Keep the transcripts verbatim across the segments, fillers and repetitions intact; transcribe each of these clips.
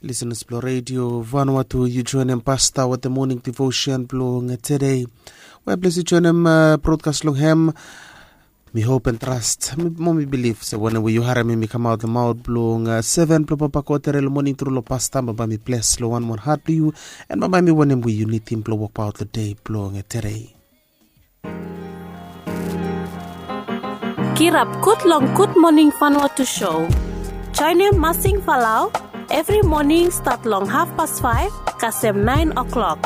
Lisenas blong redio Vanuatu, yu joinim pasta wetem moning devotion blong tede. We ples yu joinim brodkas long hem. Mi hop en trast mo mi bilif se wanem we yu harim mi mi kamaot long maot blong seven blong papa kotere long moning tru long pasta bambae mi ples long wanwan hat blong yu. En bambae mi wanem we yu nidim blong wokbaot long dei blong tede. Kirap gud long Gud Moning Vanuatu show. Joinim Masing Falau evri moning stat long hafpas faef kasem naen o'klok.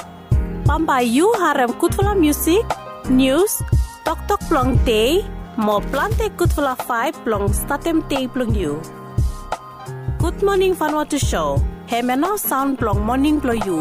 Bambae yu harem gudfala musik, nius, toktok blong dei mo plante gudfala faef blong statem dei blong yu. Gud Moning Vanuatu show, hem ya nao saon blong moning blong yu.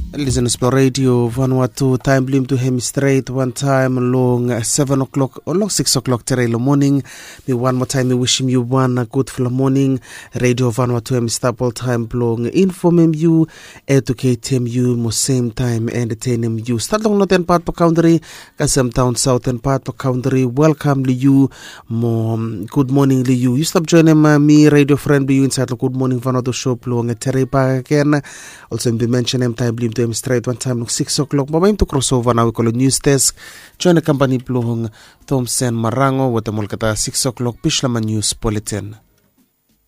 Lisenas blong redio Vanuatu, taem blong yumi tu hem i stret wantaem long seven o'klok o long six o'klok tere long moning. Mi wan moa taem mi wisim yu wan gudfala moning. Redio Vanuatu hem i stap oltaem blong infomem yu, eduketem yu mo semtaem entetenem yu stat long noten pat blong kantri kasem daon saoten pat blong kantri. Welkam long yu mo gud moning long yu. Yu stap joinim mi redio fren blong yu insaet long Gud Moning Vanuatu show blong tere bakegen. Olsem mi bin mensenem taem blong yumi tu hem i stret wantaem long six o'klok bambae yumi tu krosova nao i go long nius desk. Joinim kampani blong Tomsen Marango wetem olgeta six o'klok Bislama nius buletin.